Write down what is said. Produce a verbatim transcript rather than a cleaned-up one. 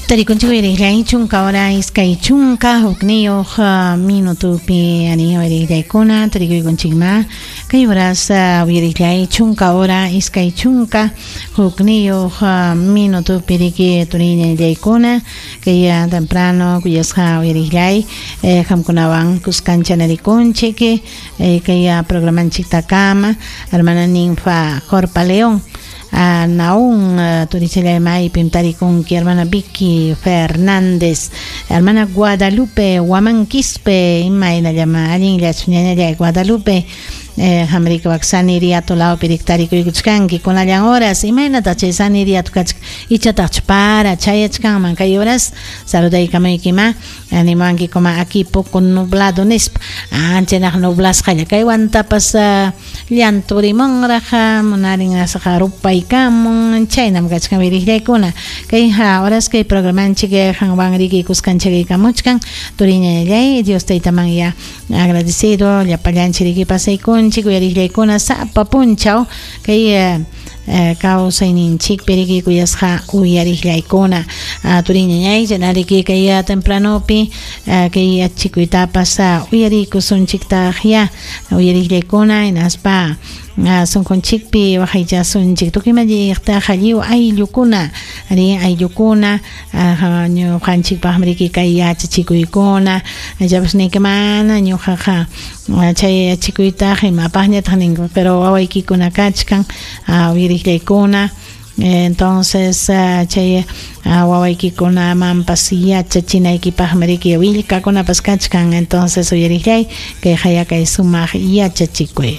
Tarikunchik uyariqllay chunka hora iskay chunka hukniyuq minutupi ani uyariqllaykuna tarikuykunchikma kay horas uyariqllay chunka hora iskay chunka hukniyuq minutupi riki turiñallaykuna kay temprano kuyasqa uyariqllay qamkunawan kuskancha narikunchik kay programanchiktakama hermana Ninfa Jorpa León a Naún turichalay maypim tarikunki hermana Vicky Fernández, hermana Guadalupe Huamanquispe, imaynallama allinllachu ñañallay Guadalupe, eh, hamrika wak Saniriato lawpi tarikuykuchkanki kunallan horas imaynataq chay Saniriato kachka ichataqchu para chayachkanman kay horas saludaykamuykima animanki kuma aquí poco nublado nispa anchanaq nublasqalla kaywantapas uh, llanturimunraq munarin asqa rupaykamun chaynam kachkan wiriqllaykuna kay horas kay programanchik qanwan riki kuskanchakaykamuchkan turiñallay Dios taytaman ya agradecido llapallanchik riki pasaykunchik uyariqllaykuna sapa punchaw kay uh, kawsayninchikpi riki kuyasqa uyariqllaykuna uh, turiñañay chanariki kay tempranopi uh, kay yachikuytapas uh, uyarikusunchiktaq ya uyariqllaykuna hinaspa sunqunchikpi waqaychasunchik tukuy malliqtaqa lliw ayllukuna ari ayllukuna ñuqanchikpaqmi riki kay yachachikuykuna ichapas niyki mana ñuqaqa chay yachachikuytaqa imapaqñataq ninku pero wawaykikuna kachkan uyariqllaykuna entonces chay wawaykikunamanpas yachachinaykipaqmi riki willkakunapas kachkan entonces uyariqllay kay haya kay sumaq yachachikuy.